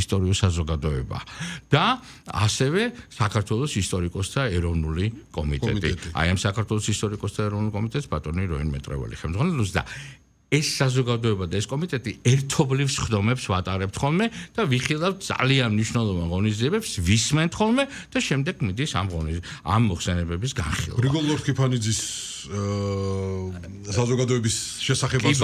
ისტორიულ საზოგადოება და ასევე საქართველოს ისტორიკოსთა ეროვნული კომიტეტი. აი ამ საქართველოს ისტორიკოსთა ეროვნული კომიტეტს ბატონი როინ მეტრეველი ხელმძღვანელობს და ეს საზოგადოება და ეს კომიტეტი ერთობლივ სხდომებს ვატარებთ ხოლმე და ვიხილავთ ძალიან მნიშვნელოვან ღონისძიებებს, ვისმენთ ხოლმე და შემდეგ მიდის ამ მოხსენებების განხილვა. გრიგოლ ლორთქიფანიძის საზოგადოების შესახებაც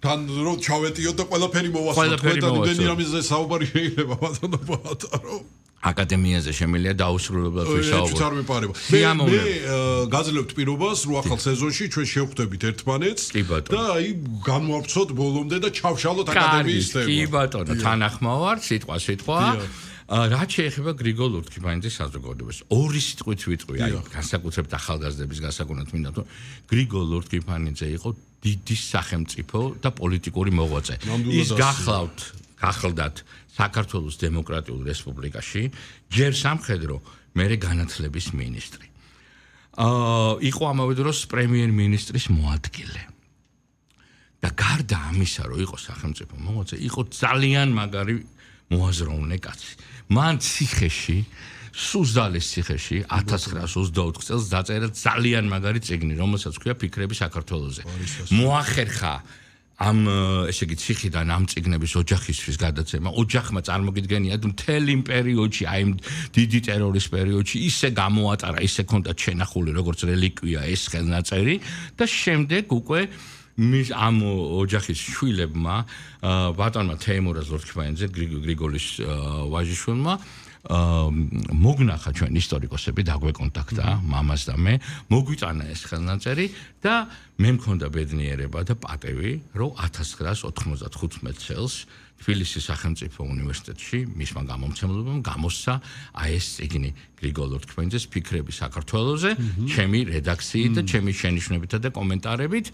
თან რომ ჩავეტიოთ და ყველაფერი მოვასწროთ. და იმდენი რამეზე საუბარი შეიძლება ბატონო ბატარო. აკადემიაზე შემიძლია დაუსრულებლად ვისაუბროთ. არ მეპარება. მე გაძლევთ პირობას, რომ ახალ სეზონში ჩვენ შევხვდებით ერთმანეთს და აი განვავრცოთ ბოლომდე და ჩავშალოთ აკადემიის თემა. კი ბატონო, თანახმაო ვარ, სიტყვა. რაც შეეხება გრიგოლ ლორთქიფანიძის საზოგადოებას, ორი სიტყვით ვიტყვი, აი განსაკუთრებით ახალგაზრდების გასაკუთრებით მინდა თუ გრიგოლ ლორთქიფანიძე იყო დიდი სახელმწიფო და პოლიტიკური მოღვაწე. ის გახლდათ საქართველოს დემოკრატიულ რესპუბლიკაში ჯერ სამხედრო, მერე განათლების მინისტრი. იყო ამავე დროს პრემიერ-მინისტრის მოადგილე. და გარდა ამისა, რომ იყო სახელმწიფო მოღვაწე, იყო ძალიან მაგარი მოაზროვნე კაცი. მან ციხეში, სუზდალის ციხეში 1924 წელს დაწერა ძალიან მაგარი წიგნი, რომელსაც ქვია ფიქრები საქართველოზე. მოახერხა ამ ესე იგი ციხიდან ამ წიგნების ოჯახისთვის გადაცემა. ოჯახმა წარმოგიდგენიათ მთელი იმ პერიოდში, აი იმ დიდი ტერორის პერიოდში ისე გამოატარა, ისე ქონდათ შენახული როგორც რელიკვია ეს ხელნაწერი და შემდეგ უკვე ამ ოჯახის შვილებმა ბატონმა თეიმურაზ ლორთქიფანიძე გრიგოლის ვაჟიშვილმა მოგნახა ჩვენ ისტორიკოსები დაგვეკონტაქტა მამას და მე მოგვიტანა ეს ხელნაწერი და მე მქონდა ბედნიერება და პატევი რომ 1995 წელს თბილისის სახელმწიფო უნივერსიტეტში მისმა გამომცემლებამ გამოსცა აი ეს წიგნი გრიგოლ ლორთქიფანიძეს ფიქრები საქართველოზე ჩემი რედაქციით და ჩემი შენიშვნებითა და კომენტარებით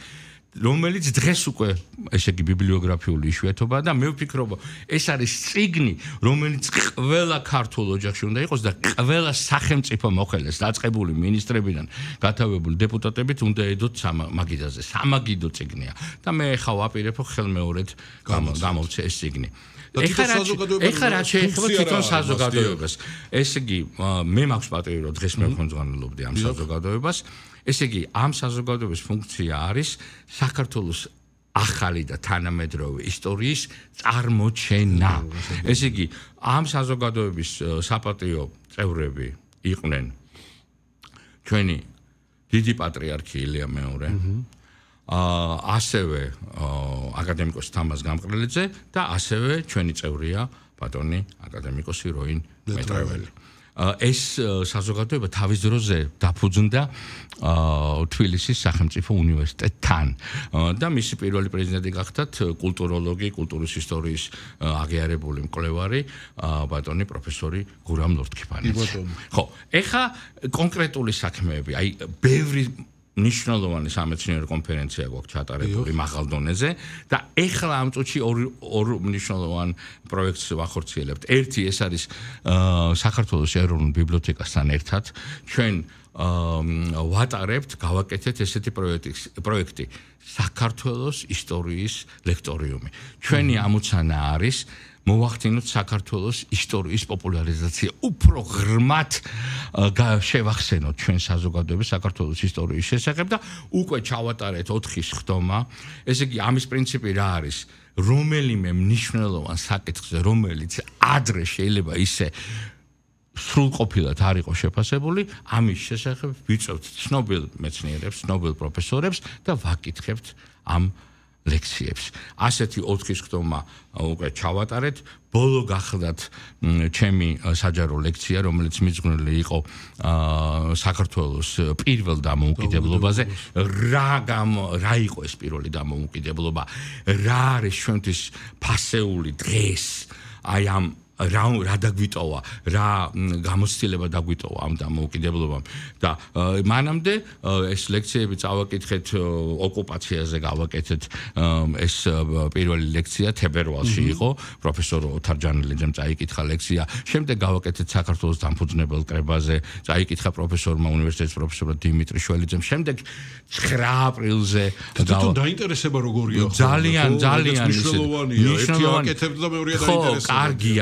რომელიც დღეს უკვე ესე იგი ბიბლიოგრაფიული იშვიათობაა და მე ვფიქრობ ეს არის წიგნი რომელიც ყველა ქართულ ოჯახში უნდა იყოს და ყველა სახელმწიფო მოხელეს დაწყებული მინისტრებიდან გათავებული დეპუტატებით უნდა ედოთ მაგიდაზე სამაგიდო წიგნია და მე ხა ვაპირებ ხელმეორედ გამოვცე ეს წიგნი ეხლა რა შეეხება თვითონ საზოგადოებას ესე იგი მე მაქვს პატივი რომ დღეს მე ვხმძღანელობდი ამ საზოგადოებას ესე იგი ამ საზოგადოების ფუნქცია არის საქართველოს ახალი და თანამედროვე ისტორიის წარმოჩენა. ესე იგი ამ საზოგადოების საპატიო წევრები იყვნენ ჩვენი დიდი პატრიარქი ილია მეორე ასევე აკადემიკოსი თამაზ გამყრელიძე და ასევე ჩვენი წევრია ბატონი აკადემიკოსი როინ მეტრეველი. ეს საზოგადოება თავის დროზე დაფუძნდა თბილისის სახელმწიფო უნივერსიტეტთან და მისი პირველი პრეზიდენტი გახდათ კულტუროლოგი, კულტურის ისტორიის აღიარებული მკვლევარი ბატონი პროფესორი გურამ ლორთქიფანიძე. ხო, ეხა კონკრეტული საქმეები, აი ბევრი ნიშნულოვანი სამეცნიერო კონფერენცია გვაქვს ჩატარებული მაღალ დონეზე და ეხლა ამ წუთში ორ მნიშვნელოვან პროექტს ვახორციელებთ. ერთი ეს არის საქართველოს ეროვნულ ბიბლიოთეკასთან ერთად ჩვენ ვატარებთ, გავაკეთეთ ესეთი პროექტი საქართველოს ისტორიის ლექტორიუმი. ჩვენი ამოცანა არის მოვახდინოთ საქართველოს ისტორიის პოპულარიზაცია უფრო ღრმად შევახსენოთ ჩვენ საზოგადოების საქართველოს ისტორიის შესახებ და უკვე ჩავატარეთ 4 სხდომა. ესე იგი ამის პრინციპი რა არის? რომელიმე მნიშვნელოვან საკითხზე, რომელიც ადრე შეიძლება ისე სრულყოფილად არ იყოს შეფასებული, ამის შესახებ ვიწევთ ცნობილ მეცნიერებს, ცნობილ პროფესორებს და ვაკითხებთ ამ ლექციებს. ასეთი 4 სხდომა უკვე ჩავატარეთ. ბოლო გახლდათ ჩემი საჯარო ლექცია, რომელიც მიძღვნილი იყო საქართველოს პირველ დამოუკიდებლობაზე. რა იყო ეს პირველი დამოუკიდებლობა? რა არის ჩვენთვის ფასეული დღეს? აი ამ რა დაგვიტოვა, რა გამოცდილება დაგვიტოვა ამ დამოუკიდებლობამ და მანამდე ეს ლექციები წავაკითხეთ ოკუპაციაზე გავაკეთეთ ეს პირველი ლექცია თებერვალში იყო პროფესორ ოთარ ჯანელიძემ წაიკითხა ლექცია შემდეგ გავაკეთეთ საქართველოს დამფუძნებელ კრებაზე წაიკითხა პროფესორმა უნივერსიტეტის პროფესორ დიმიტრი შველიძემ შემდეგ 9 აპრილზე დაინტერესება როგორია ძალიან მნიშვნელოვანია ერთი აკეთებდა და მეორე დაინტერესება კარგია